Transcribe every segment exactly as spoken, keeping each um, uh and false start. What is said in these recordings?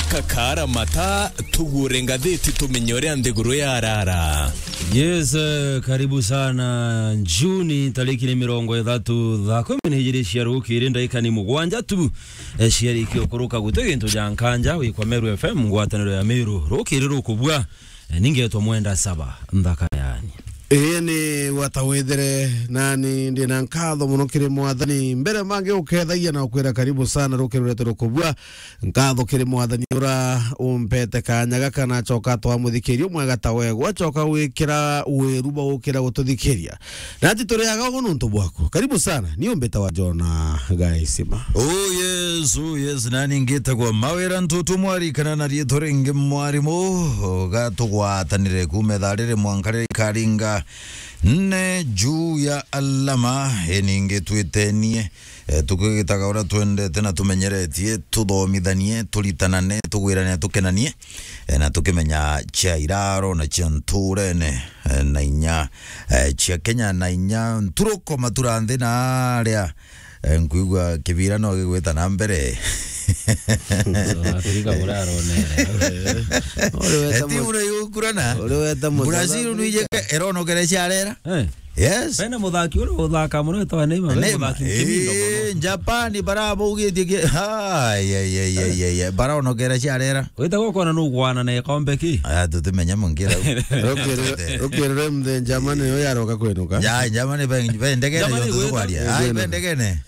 Kakara mata, tugure ngathiti tumenye uria nthiguru yarara. Yes, eh, karibu sana. Juni tariki ni mirongo ithatu, thaa kumi na ijiri cia rukiri, ndaika ni mugwanja tu, eh, ciarikia ukuruka. Guti gintu ja nkanja, wikwa Meru F M, ngwataniro ya Meru. Rukiri rukubua, eh, ningetwa Mwenda Saba, nthaka yani. Ii ni gwata withire, nani ndi na nkatho mono kiri Mwathani. Mbere mangi ukethagia na ukwira karibu sana rukiri rwetu rukubua. Nkatho kiri Mwathani ura umpete kanya gaka, na acoka twamuthikiria umwega ta we, gwacoka gwikira wiru bwa gukira gututhikiria. Nati turi aga ugu nuntu bwaku. Karibu sana, ni umbita wa Jona Gaisima. Oh yes, oh yes, nani ngitagwa Mawira Ntutu Mwari, kana na riitwa ringi Mwarimu, gatugwatanire kuuma ithaa riri mwanka riri karinga nne juu ya alama, e ningi twitenie, e, tukigitaga uria twendete na tumenyeretie, tuthomithanie, turitanane, tugwirane, tukenanie, e, na tukimenya cia iraro na cia nturene, e, na inya, e, cia Kenya na inya nturuko matura nthi na aria, e, nkwigua kibira no gigwita na mbere. Afrika uraronera. Uri weta eti mu-, ura yukurana. Uri weta Brazil nuijeke eronokere ciarera. Eh. Yes. Bena muthaki uri uthaka muno etwa Neymar, bena Neymar. Muthaki mkimindo muno. Eh, Japan barabaugitie ki-, ai, ai, ai, ai, ai, ai. Baronokera ciarera. Wita gukona nugwana na ikombe ki? Aya, tutimenya mungira. Rukirire, rukirire mthe Germany yo yaroka kwinuka. Ya, Germany be, be ndegene Germany yo gwita tukwaria. Ai, be ndegene.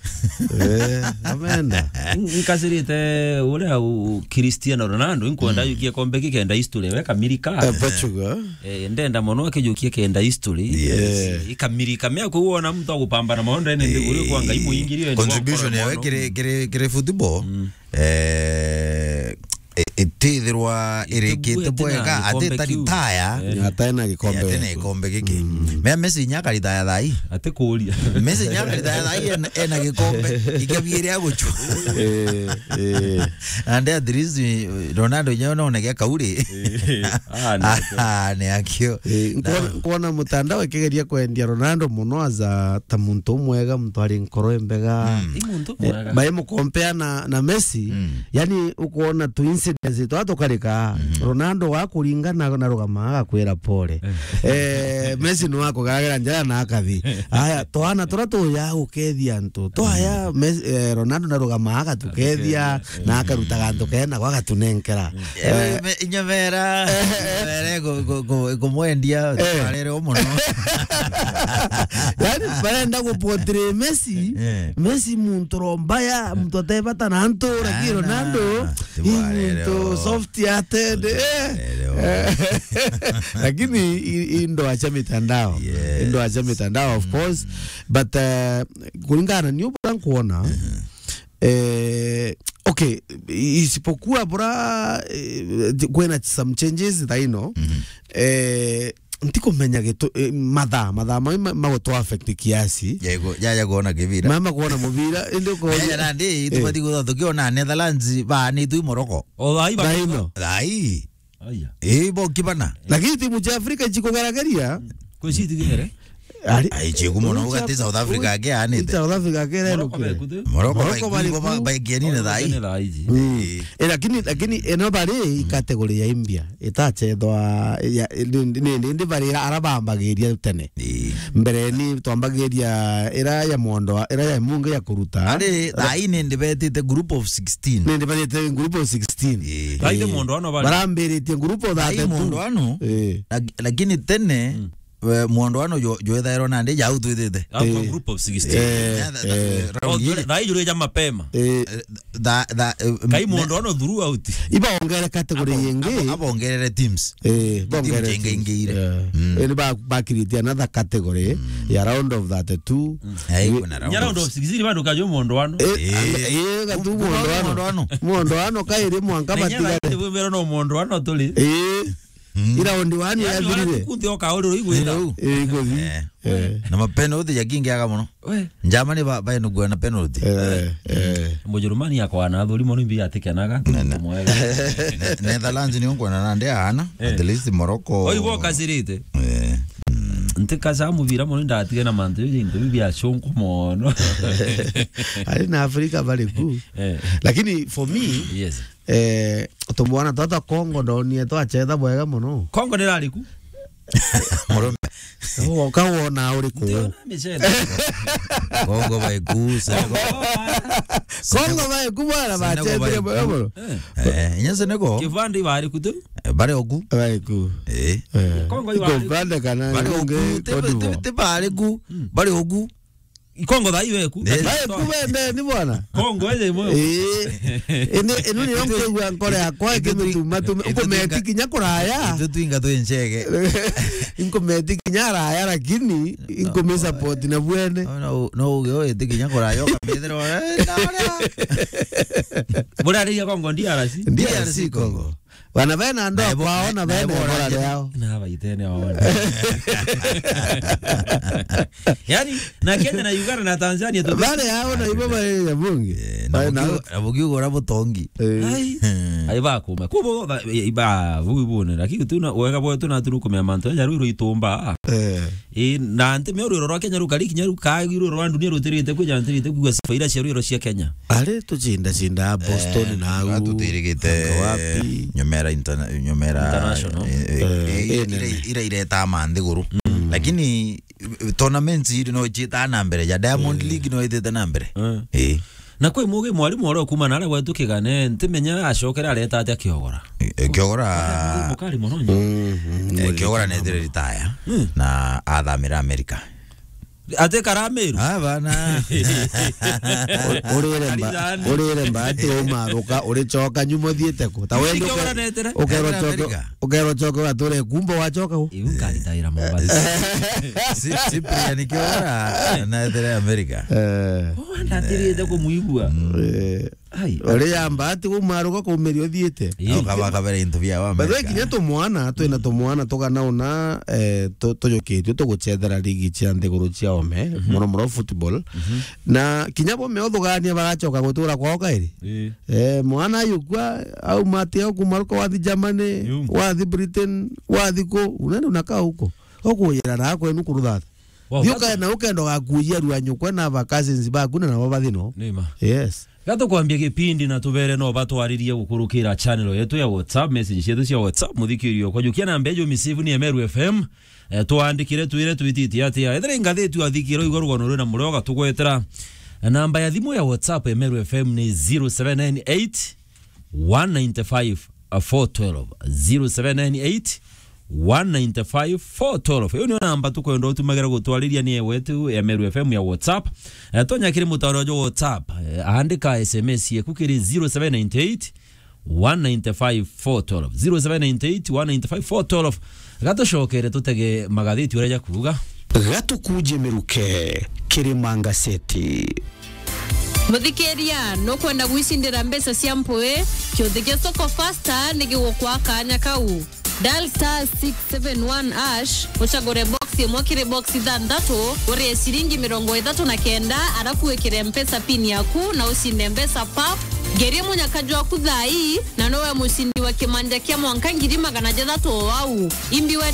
Eh, amenda. N-, nkasirite uria u-, Cristiano Ronaldo, inkwenda yukie kombe ki kenda history, we Kamirika. Eh, Portugal. Eh, ndenda mono akijukie kenda history. Yes. Eh, ikamiri kamea kuona mtu agupambana maondo ene ndiguru kwa Ngai muingirio ene contribution yawe kiri, kiri, kiri football. Mm. Eh, i-, itithirwa irikite bwega, ati taritaya. Eh. Atena gikombe. Atena gikombe giki. Mm. Mea Messi nya karitaya thai. Ati kuria. Messi nya karitaya thai ena, ena gikombe. Ikabiri aguchwa. Eh, eh. And at least, eh, Ronaldo nyawe no nege kauri. Eh. Ah, ni akio. Ah, ni akio. Eh, nkwona, nkwona mutandao ikigeria kwendia Ronaldo muno aza ta muntu umwega, muntu ari nkoro imbega. Mm. Ni muntu mwega. Eh, bae mukompea na, na Messi, mm, yani ukwona tu incidents twa tukarika, mm, Ronaldo wa kuringa na, na rugama agakwira pole. Eh. Eh, Messi no akugaragara njara na akathi. Aya, twana tura tuya gukethia antu. Twaya, mm, Messi, eh, Ronaldo na rugama agatukethia. Agatukethia. Na akaruta gantu kena gwa gatunenkera. Eh, eh, me-, nyamera, nyamera ku-, ku-, ku-, kumwendia, eh, twarere o muno. Yani, barenda ku portray Messi, eh, Messi muntu rombaya, muntu atebata na antu, lakini Ronaldo, i muntu soft hearted, eh. Lakini i-, i ndo acha mitandao. Yes. Ndo acha mitandao, of course. But, eh, kulingana ni ubura nkuona, eh, okay, isipokuwa bura, eh, kwina some changes thaino. Mhm. Eh, ntikumenya gitu, eh, mathaa, mathaa mai ma-, magutu affect kiasi. Yego, yaya kuona kibira. Mama kuona mubira, indi ko- yaya nandi, eh, tubati gutha tukiona Netherlands baanitwe i Morocco. O thai ba- thaino. Thai. Aya. Ii, bo kibana. Lakini timu cia Afrika ichikugarageria. Kwicitigere. Ari. Ai, chiku muno, timu cia ugati South Africa ake anite. South Africa ake Morocco reno kire. Morocco bari ku, ba-, baikieni na thai. Mm. Ii. Eh, lakini, lakini eno bari i category ya imbia. Itachethwa, ya, ni, ni, ni, ni bari ara bambagiria tene. Ii. Mbere ni twambagiria ira ya mondo, ira ya mungi ya kuruta. Ari, thai ni ndibetite group of sixteen. Ni ndibetite group of sixteen. Ii. Thai ni mondo ano bari. Barambiritie group of thirty-two. Thai mondo ano. Ii. Lak-, lakini tene, mm, we, mondo ano jo, jo ethairwo nandi jau twithite. Au kwa, ii, group of sixteen. Eh, eh, eh, round ii. Thai jure ja mapema. Eh, eh, tha-, tha-, eh, kai me- mondo ano throughout. Ibaongere category ingi. Abo-, abo-, abongerere teams. Eh, team bongerere jingi teams. Ingiire. Yeah. Mm. Eh, ni ba-, bakiritie another category, mm, ya round of thirty-two. Mm. Eh, wi- kuna round of sixteen bado kajo mondo ano. Eh, eh, eh, gatu mondo ano. Mondo ano. Mondo ano kairi mwanka batigare. Bwebero no mondo ano turi. Eh. Mm. Ira round one yathirire. Kunti oka uri igwira. Eh, iguthi. Eh. Eh. Na mapenalty ya kingi aga muno. We. Germany ba, baenugua na penalty. Eh, eh. Mujurumani akwana athuri mono imbi atikenaga. Nene. Kumwega. Ne-, Netherlands ni unkwana na nde ana. Eh. At least Morocco. Oi, bo kasirite. Eh. Mm. Nti kasa mubira mono ndatige na mantu yo into bibia shonko mono. Ari na Afrika bari ku. Eh. Lakini for me, yes. Eh, tumwana twa twa Kongo ndonie twachetha bwega mono. Kongo nirariku? Murume. Woka wona uriku? Ndiona michele. Kongo baiku, Senegal. Kongo baiku bwana, Senegal bachethire baiku. Bwega mono. Eh. Eh, inya Senegal. Kivandi bariku tu? Eh, bari oku. Baiku. Eh. Eh. Kongo iwa Kivandi kana bari oku, ti, ti, ti bari ku, bari oku. Ikongo thaa iwe ku. Eh. Baiku bende ni bwana. Kongo ende mwe. Eh. Ene, enu ni onke gwa nkore yakwa ikimituma tume. Uko meti kinya kuraya. Itu twinga twi nchege. Inko meti kinya araya, lakini inko me support na bwene. No, no, no, uge iti kinya kuraya, ukamethira, eh, na uria. Burariria Kongo, D R C? D R C Congo. Bana bena ndoa kwao na bena ibora riao. Na baitene waone. Yani, na Kenya na Uganda na Tanzania tu. Bale yao na ibo bale ya bunge. Eh, na bukiu-, na bukiu gora butongi. Eh. Ai. Hmm. Ai bakuma. Kubo ba, iba, bu, bu, ne, lakini tu na, wega bo tu na tu kumea mantu, ya ruru itumba. Eh. Ii, na nti mio rwiro rwa Kenya rukari kinya rukagi rwiro rwa ndunia rutirite kwija ntirite kugua sifa ira cia rwiro cia Kenya. Ari tucinda cinda Boston, eh, na au, atutirigite anga wapi? Nyomera interna-, Nyomera International. Eh, eh, eh, eh, ira, ira, ira ireta ma nthiguru. Mm. Lakini, eh, tournaments iri no icita na mbere, ya Diamond, eh, League no itite na mbere. Eh. Eh. Na kwi mugi mwarimu uria ukuma na aria gwetu Kigane, ntimenya acokere areta atia Kiogora. E, e, Kiogora, mukari mono nyo. Mm, mm, eh, Kiogora nethire retire, mm, na athamira America. Ate kara Meru? Ah, bana. U-, urire mba-, urire mbati umaruka, uricoka nyuma uthiite ku? Ta wendi Kiogora uke-, netere? Ukerwo coke, America. Ukerwo coke wature kumba wacoka u? Iu nkaritaira Mombasa. Si-, Cyprian Kiogora, nethire America. Eh. Oh, ndatirite kumwigua. Mm. Eh. Ai. Uri yamba ati gumaruka kumiria uthiite. Ii. Ukaba kabere into bia wa America. By the way, kinya tumwana, twina tumwana tugana una, eh, tu-, tujukitue tugucethera ligi cia nthiguru cia ome, mhm, muno muno football. Mhm. Na kinya bo me uthugania bagacoka gutura kwao kairi. Ii. Eh, mwana ayukua, au mate au kumaruka wathi Germany, yu, wathi Britain, wathi ku, unaenda unakaa huko. Ukuyira na kwenu kuruthatha. Wow, thiuka na ukenda gakujia rua nyukwe na ba cousins baku na nabo bathino. Nima. Yes. Gatukwambia gipindi na tubere no batwaririe gukurukira channel yetu ya WhatsApp, message cietu cia WhatsApp, muthikirio kwa jukia namba ejo misivu ni Emeru F M. Eh, twandikire twire twititi atia. Ethire ngatheti wathikira igwa rugono rwina murio gatugwetera. Namba ya thimu ya WhatsApp Emeru F M ni zero seven nine eight, one nine five, four twelve. Zero seven nine eight, one nine five, four twelve. Iyo niyo namba tukwenda utumagira gutwariria ni ewe tu ya Meru F M ya WhatsApp. Eh, tonya kiri mutaro jo WhatsApp. Eh, andika S M S yeku kiri zero seven nine eight, one nine five, four twelve. Zero seven nine eight, one nine five, four twelve. Gatucokere tutege magatheti uria jakuuga. Gatukuje miruke kiri mangaseti. Muthikiria, nukwenda gwicindira mbeca cia mpui? Kiuthi gia Soko Fasta ni gigukwa kanya kau. Dial star six seven one hash, ucagure box imwe kiri box ithanthatu, urie ciringi mirongo ithatu na kenda, arafu wikire Mpesa pin yaku na ucinde mbeca pap. Ngerie munyaka jwaku thaa ii, na nowe mucindi wa kimanja kia mwanka ngiri magana jathatu o au. Imbi we